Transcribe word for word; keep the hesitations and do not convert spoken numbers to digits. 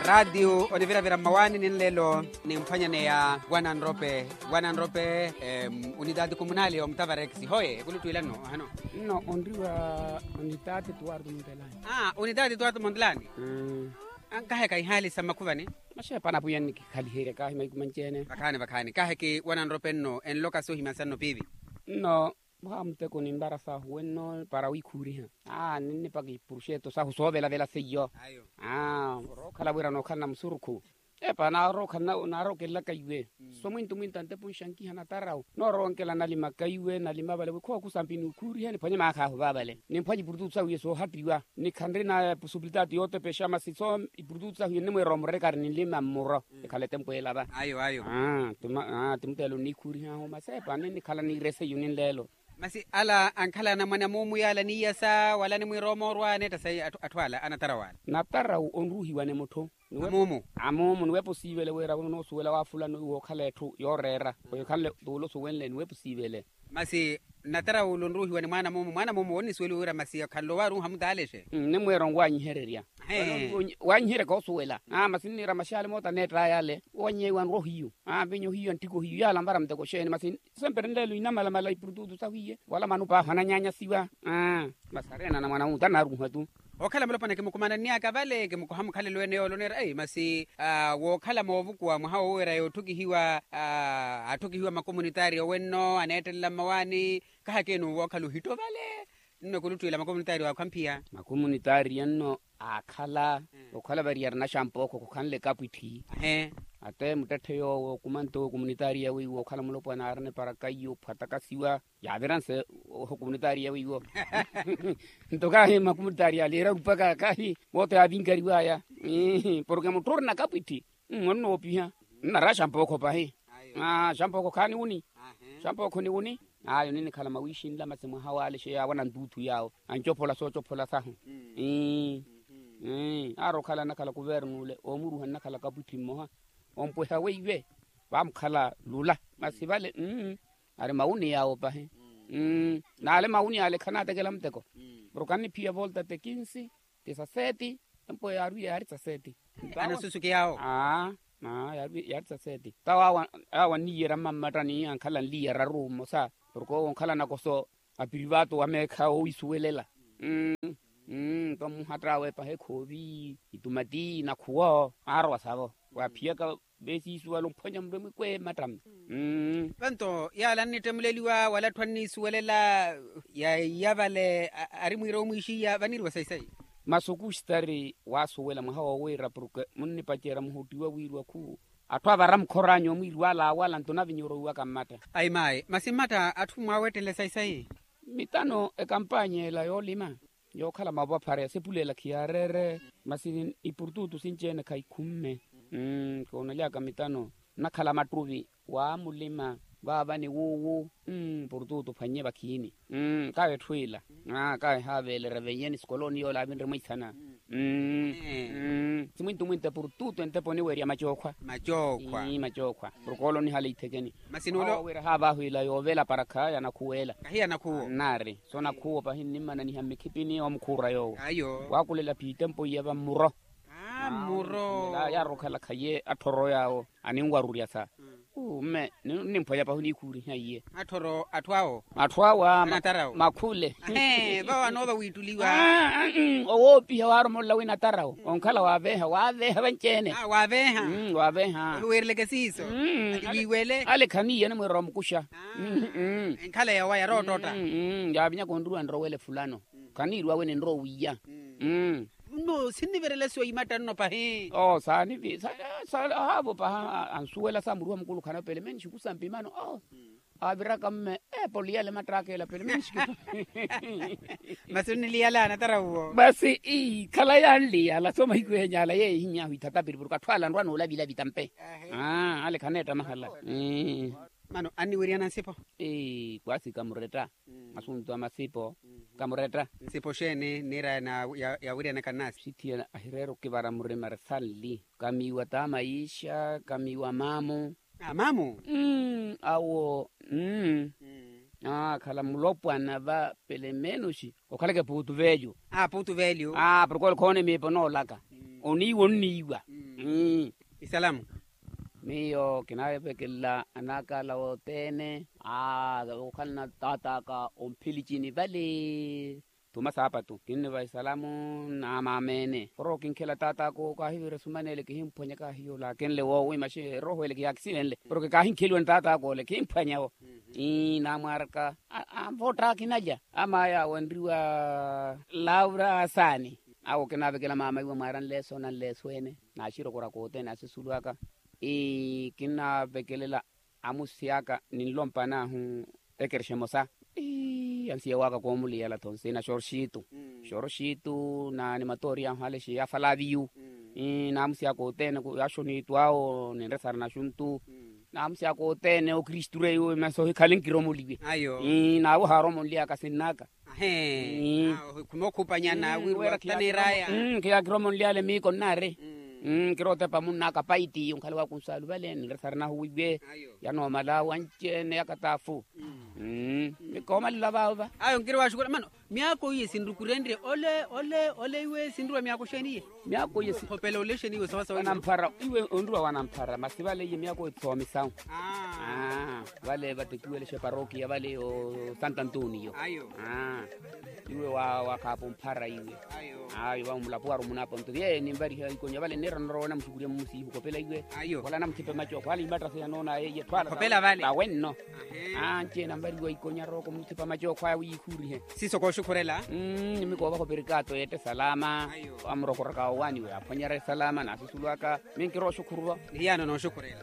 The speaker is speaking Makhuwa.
Raatiyo oniviravira mmawaani ninlelo nimphwanyaneya wananrope wananrope. Unitaati kumunali omutavarex hoye ekuluttwilanno ohano. Nno onriwa onitaati tuwartu muntelani. Unitaati tuwartu muntelani. Ankaheka ihaali sa mmakhuvani. Maxepa anapwiya nnikikhaliherya kahi maiku manci-ene. Vakhaani vakhaani kaheki wananrope nno enloka sohimya sanno piivi. Nno mwaha muteko nimbara sahu wenno para wiikhuuriha. Aa ninnipaka ipuruxeto sahu soovelavela seiyo. Aa orookhala wira nookhalana musurukhu. Epa naarookelelaka iwe. So mwintu mwintu antepo nxankiha natarawu nooroonkela nalima kaiwe nalima vale wi khookusampi niwukhuurihe niphwanye maakhaahu vaavale nimphwanye ipurututu sahu iye soohattiwa. Nikhanri na epusubilitaati yootepexa masi so ipurututu sahu iye nnimwiira omurekari ninlima mmuro. Ekhala etempo elava. Ayo ayo. Aa timuteelo nniikhuurihaahu masi epa ninnikhala niirese iyuni nleelo. Masi ala ankhala anamwane amuumu yaala niiyasa wala animwiira omoorwa aneetta sayi atthu ala anatarawu ala. Natarawu onruuhiwa ni mutthu. Amuumu. Amuumu niwepa osiivele wira wino noosuwela wa fulano iwe okhala etthu yooreera. Oyo khanle tuula osuwenle niwepa osiivele. Masi natarawu ula onruuhiwa ni mwaana muumu mwaana muumu wonnisuweliwa wira masi khanle owaruuha mutaalexe. Nnimwiira onwanyihererya. Wanyiherya koosuwela. Masi nniira maxaali moota aneett'aya ale wonyeya iwe anrohiyu. Vinyo hiyu antthiko hiyu yaala anvara muteko xeeni masi sempre nleelo inamalamala ipurututu sahu iye wala manupa ahu ananyaanyasiwa. Masi areena na mwana wuta anaaruuha tu. Okhala mulopwana kimukumanannyaka vale kimukoha mukhalelo ene yoole oneera ei masi wookhala moovukuwa mwaha wooweera yootthukihiwa. Atthukihiwa makomunitaari owenno aneettelela mmawaani. Kahakeeni owookhala ohitto vale. Nno ekuluttwiila makomunitaari waakhwamphiya. Makomunitaari enno aakhala okhala variyari naxampookho khukhanle kapwitthi. Ahe. Ate muttetthe yoowo okumanto komunitaari yawe iwe okhala mulopwana aarina eparaka iyo ophwatakasiwa. Yaaviranse oho komunitaari yawe iwo. Nto kahi makomunitaari yaale erarupaka kahi woote yaavinkariwaya. Porke mutthu orina kapwitthi onnoopiha nnara xampookho pahi. Xampookho khaani wuni. Xampookho ni wuni. Ayo ninnikhala mawiixinla masi mwaha waale xeyawo anantuuthu yaawo ancophola soocophola sahu. Aari okhala nnakhala kuvernu ole oomuruha nnakhala kapwitthi mmoha ompweha weiwe vaamukhala lula. Masi vale ari mawuni yaawo pahi. Naale mawuni ale khanaatekela muteko. Porke anniphiya volta tekinsi tisaseti empo yaari tisaseti. Anasusuki yaawo. Aa yaari tisaseti tawo awo anniiyera mmammattani ankhala nliiyeraru mmosa porke owo onkhala nakoso apirivato wa meekha owisuwelela. Nto mmuhatt'awe paha ekhoovi itumati nakhuwo aarowa savo waaphiyaka veesiisuwala omphwanya murwe mwikwe mmattami. Vanto yaala annittemuleliwa wala atthu anniisuwelela yaiya vale ari mwiira omwiixiya vaniiriwa sayi sayi. Masi okustari waasuwela mwaha woowiira porke munnipacerya muhottiwa wiiriwa khu atthu avara mukhor'anyu omwiiriwala awala nto navinyorowiwaka mmatta. Ayi maayi masi mmatta atthu mwaawettele sayi sayi. Mitano ekampanya ela yoolima yookhala mavophare yasepulela khiyaareere. Masi ipurututu sinci-ene khaikhumme. Koonaly'aka mitano nnakhala mattuvi waamulima vaava ni wuuwu. Purututu phwannye vakhiini. Kawe etthu ila kawe haaveelera veiye ni sikoloni yoola aavinre mwiisana. Simwintu mwintu epurututu entepo oniwerya macookhwa. Macookhwa. Porke ole onihale ithekeni. Masi nulo wira haavaahu ila yoovela parakha yanakhuwela. Kahi yanakhuwo. Nnaari so nakhuwo pahi nnimmananiha mmikhipini omukhuura yoowo. Ayo waakulela phiitempo iya vammuro. Mmuro. Yaari okhala khaye atthoro yaawo aninwarurya sa. Mme ninimphwanya pahu niikhuuriha iye. Atthoro atthu awo. Atthu awo makhule. Vawo anoova wiittuliwa. Owoopiha waaromolola wina atarawo onkhala waaveeha waaveeha vanci-ene. Waaveeha. Waaveeha. Ohiweereleke siiso. Atiwiiwele. Ale khaniiya animwiira omukuxa. Enkhala yawa yaroottotta. Yaavinyaka onruwa nrowele fulano khaniiriwawe ninrowiya. Nno sinnivirela siwa imatta nno pahi. Oo saanivi sahaavo paha ansuwela sa muruha mukulu khana pelemeni xikusampi mano oo. Aaviraka mme eepoli yale mattaaka ela pelemeni xikusampi. Masi onniliyala anatara wuwo. Masi ii khala yanliyala so mahiku enyala yeehiny'ahu ithatapiri porke atthu ala anrwa noolavilavi tampe. Ale khaneetta mahala. Mano anniweriyana nsipo. Kwasi kamuretta asuntu a masipo. Kamuretta. Nsipo xeeni niira yawiriyana kannaasi. Sithiya ahireera okivara murima ri sanli kamiiwa t'amayiixa kamiiwa maamu. Amamu. Awo akhala mulopwana va pelemenuxi okhalaka epuutu velyu. Puutu velyu. Porke ole khoona emiipa onoolaka oniiwa onniiwa. Isalamu. Miyo kinavekelela anakala wothene. Aa okhalana tataka omphilicini vale. Thuma saapatu kinniva isalamu. Namamene poro kinkhela tataka owo kahivira esumanele kihimphwanya kahiyola akenle woowima xi eroho ele kiyakisivenle poro kikahinkheliwa ni tataka ole kihimphwanya wo. Ii namwaraka anvotta kinalya ama aya awenriwa laura asaani. Awo kinavekela mama iwe mwaranleso nanleso ene naxirokoraka othene asisulu aka. Ii kinnavekelela amusi aka ninlompa nahu ekerexe emosa. Ii ansiye waka koomuliyala thonsina xoroxitu xoroxitu na ni matoriyahu ale xiyafalaviyu. Ii namusi aka othene yaxonitu awo ninresara naxuntu. Namusi aka othene okristu reiwe masi ohikhale nkiromoliwe. Ii nawe oharomonliyaka sinnaka. Ahe. Khumookhupanyana wiiwa taneeraya. Nkiya kiromonlyale miiko nnaari. Nkirootepa munnaka paiti onkhala wakunsalu vale ninresarinahu wiiwe. Yanoomala wanci-ene yakataafu. Mikoomalela vaavo va. Ayo nkiri waxukula mano. Myaako iye sinrukurenrye ole ole ole iwe sinruwa myaako xeeni iye? Myaako iye khopela ole xeeni iwe sawasawa wanamphara iwe onruwa wanamphara masi vale iye myaako iye thoomisawu. Vale vatekiwelexe parokiya vale o santo antonio. Iwe wa khaapo mphara iwe. Ayo vamulapo waru munapo nto vye ninvariha ikonya vale nneera norowa namuxukurya mumusiihu khopela iwe. Khola namuthepe macookho ale imattase yanoona yeye thwala tawenno. Anci-ene anvariwa ikonya rooko muthepe macookho aya wiihurihe. Siiso kooxukhurela. Nimikoovaha operikato yeette salama. Amurokoraka owaani we aphwanyerya salama nasusulu aka. Minkirooxukhuruva. Nihiyaano nooxukhurela.